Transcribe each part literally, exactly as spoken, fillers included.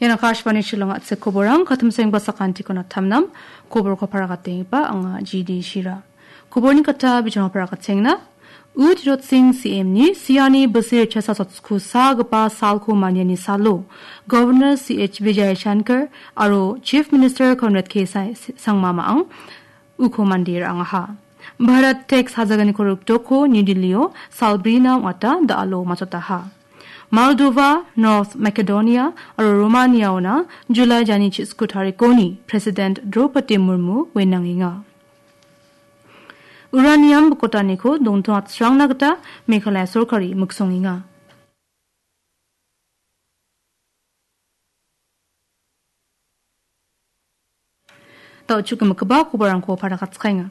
Ian Akashvani Shillong a·chik koborang, katimsengba sakantikon a·tamnam, koborko paragatengipa anga G D Shira. Koborni kata bijamo paragatenga. U Tirot Singh C M ni siani bilsi ritchasa sotku sagipa salko maniani salo, Governor C H Vijayashankar aro Chief Minister Conrad K Sa-, Sangma Ma·ang uko mande ra·angaha. Bharat tax hajaganiko rikdoko New Delhi-o salbrina ong·ata da·alo machotaha. Moldova, North Macedonia aro Romania-ona July jani chi·sku tarikoni President Draupadi Murmu wenangenga. Uranium bokotaniko dongtong atsrangna gita Meghalaya sorkari miksongenga. Da·o chukgimikgipa koborangko paragatskenga.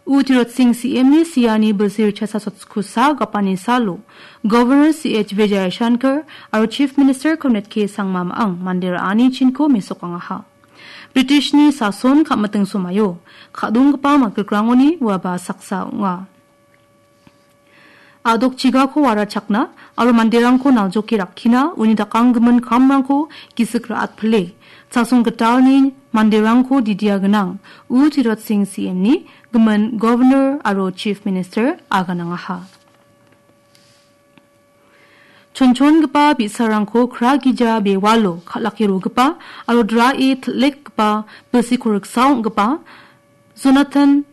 U Tirot Singh C M ni siani bilsi ritchasa sotku sa gapani salo, Governor C H Vijayashankar aro Chief Minister Conrad K Sangma Ma·ang mande ra·ani chinko mesokangaha. Britishni sason ka·miting somaio ka·donggipa makrikrangoni uaba saksa ong·a. A·dok chigako warachakna aro manderangko naljoke rakkina uni dakanggimin kamrangko gisik ra·atpile, chasong gitalni manderangko didia gnang U Tirot Singh C M ni gimin Governor aro Chief Minister aganangaha. Chonchongipa bi·sarangko kra gija bewalo kal·ake rogipa aro drae til·lekgipa bilsiko riksa ong·gipa Jonathan,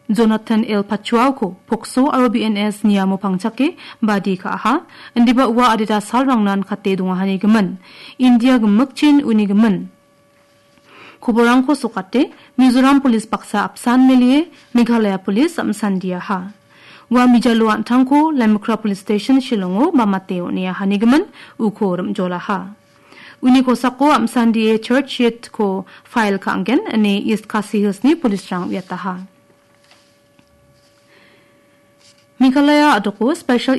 Jonathan L Pachuauko pokso aro B N S niamo pangchake badi ka·aha, indiba ua adita salrangnan kate dongahanigimin, India gimikchin unigimin. Koborangko sokate, Mizoram Police baksa apsan melie, Meghalaya Police am·sandiaha. Ua mijalo an·tangko Lemukra Police Station Shillongo bamate on·eahanigimin uko rim·jolaha. Uni kosako am·sandie charge sheet-ko file ka·angen ine East Khasi Hills-ni police-rang uiataha. Meghalaya a·doko special